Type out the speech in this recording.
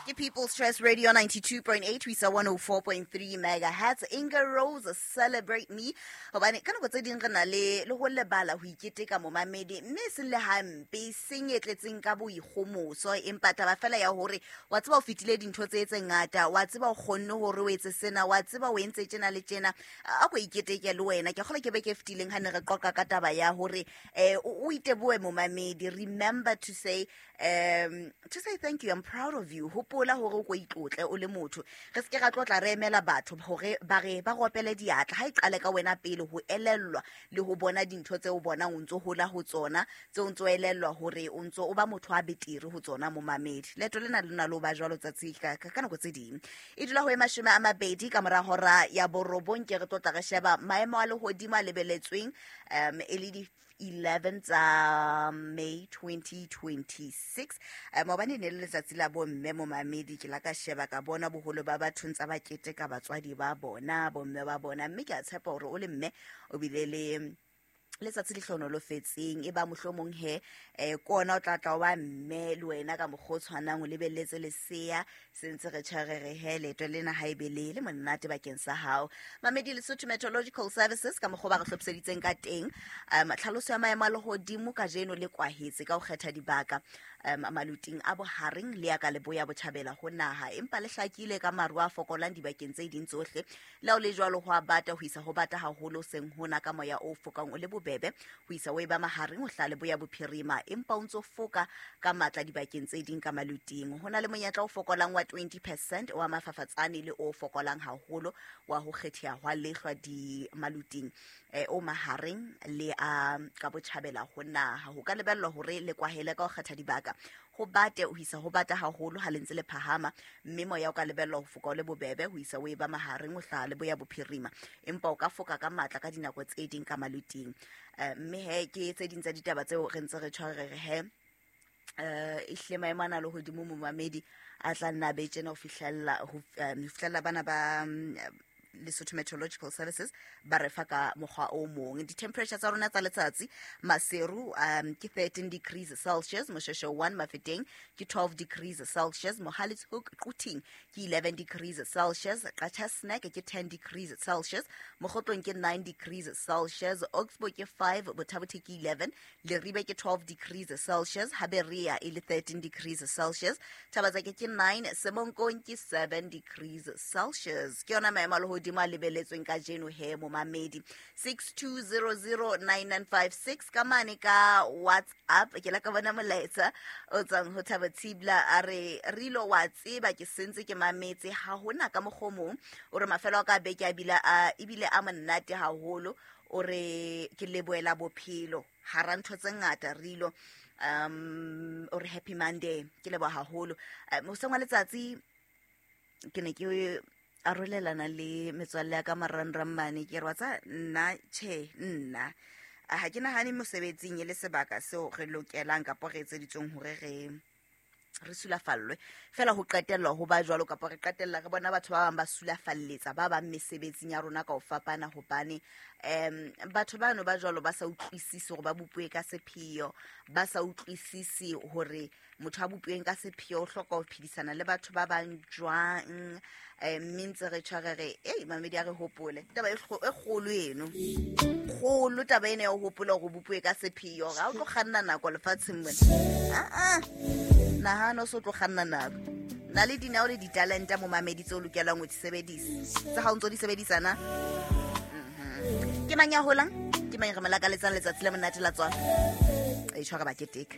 Ke People's Choice Radio 92.8 ho isa 104.3 megahertz. Inga Rose, Celebrate Me. Hobane ka nako tse ding re na le le ho lebala ho iketeka momamedi, mme e seng le hampe, e seng e tletseng ka boikgomoso, empa taba fela ya hore wa tseba o fetile dintho tse tse ngata, wa tseba o kgonne hore o etse sena, wa tseba o entse tjena le tjena, a ko iketeke le wena. Ke kgolwa ke beke e fetileng ha ne re qoqa ka taba ya hore o itebohe momamedi. Remember to say thank you, I'm proud of you. Hopola hore o ko itlotle o le motho. Re se ke ra tlotla re emela batho hore ba re ba ropele diatla. Ha e qale ka wena pele ho elellwa le ho bona dintho tse o bonang o ntso hola ho tsona, tse o ntso elellwa hore o ntso o ba motho a betere ho tsona momamedi. Leeto lena le na le ho ba jwalo tsatsi ka nako tse ding. E dula ho e 20 ka mora hora ya 9. Ke re tlotla re sheba maemo a lehodimo a lebeletsweng e le di 11 tsa May 2026. Maobane e ne le letsatsi la bomme momamedi. Ke la ka sheba ka bona boholo ba batho ntsa ba keteka batswadi ba bona, bomme ba bona, mme ke a tshepa hore o le mme o bile le letsatsi le hlohonolofetseng. E ba mohlomong he ke ona o tla tla o ba mme le wena ka mokgwa o tshwanang, o lebelletse lesea se ntse re tjha re re he leeto lena ha ebe le le monate bakeng sa hao mamedi. Lesotho Meteorological Services ka mokgwa o ba re hlophiseditseng ka teng, tlhaloso ya maemo a lehodimo kajeno le kwahetse ka ho kgetha dibaka maluting a bohareng le ya ka leboya botjhabela ho naha, empa le hlakile ka maru a fokolang dibakeng tse ding tsohle. Le ha o le jwalo, ho a bata ho isa ho bata haholo seng hona ka moya o fokang o le bobebe ho isa o e ba mahareng ho hlaha leboya bophirima, empa o ntso foka ka matla dibakeng tse ding ka maluting. Ho na le monyetla o fokolang wa 20% wa mafafatsane le o fokolang haholo wa ho kgetheha hwa lehlwa di maluting o mahareng le a ka botjhabela ho naha. Ho ka lebellwa hore le kwahele ka ho kgetha dibaka, ho bate ho isa ho bata haholo ha le ntse le phahama, mme moya o ka lebellwa ho foka o le bobebe ho isa o e ba mahareng ho hlaha leboya bophirima, empa o ka foka ka matla ka dinako tse ding ka maluting. Mme he ke tse ding tsa ditaba tseo re ntse re tjho re re he ehlile maemo ana a lehodimo momamedi a tla nna a be tjena ho fihlella bana ba Lesotho Meteorological Services ba re fa ka mokgwa o mong. Di-temperature tsa rona tsa letsatsi: Maseru ke 13 degrees Celsius, Moshoeshoe 1 Mafeteng ke 12 degrees Celsius, Mohale's Hoek Quthing ke 11 degrees Celsius, Qacha's Nek ke 10 degrees Celsius, Mokhotlong ke 9 degrees Celsius, Oxbow ke 5, Botha-Bothe ke 11, Leribe ke 12 degrees Celsius, Haberia e le 13 degrees Celsius, Thabatsake ke 9, Semonkong ke 7 degrees Celsius. Ke yona maemo a lehodimo a lebeletsweng kajeno he momamedi. 62009956 ka mane ka WhatsApp. Ke la ka bona molaetsa o tswang ho Thabo Thibla, a re rilo wa tseba ke sentse ke mametse ha hona ka mokgwa o mong. O re mafelo a ka beke a bile a ebile a monate haholo. O re ke leboela bophelo hara ntho tse ngata rilo. O re happy Monday, ke leboha haholo. Hoseng wa letsatsi ke ne ke arolelana le metswalle ya ka marangrang mane, ke re wa tsa nna tjhe nna ha ke nahane mosebetsing e le sebaka seo re lokelang kapa re etseditsweng hore re sulafallwe fela ho qetellwa ho ba jwalo, kapa re qetella re bona batho ba bang ba sulafalletsa ba bang mesebetsing ya rona ka ho fapana, hobane batho bano ba jwalo ba sa utlwisise hore ba bopuwe ka sepheo, ba sa utlwisise hore motho a bopuweng ka sepheo o hloka ho phedisana le batho ba bang jwang. Mme ntse re tjho re re ei mamedi, a re hopole taba e kgolo eno, kgolo taba ena ya ho hopola hore o bopuwe ka sepheo. Ga o tlo kganna nako lefatsheng mona, aa nahana o se o tlo kganna nako na le dinao le ditalenta momamedi tse o lokelang ho di sebedisa, tse ga o ntso di sebedisa na. Ke mang ya holang, ke mang re mo lakaletsang letsatsi le monate la tswalo? E tshwara ba keteka.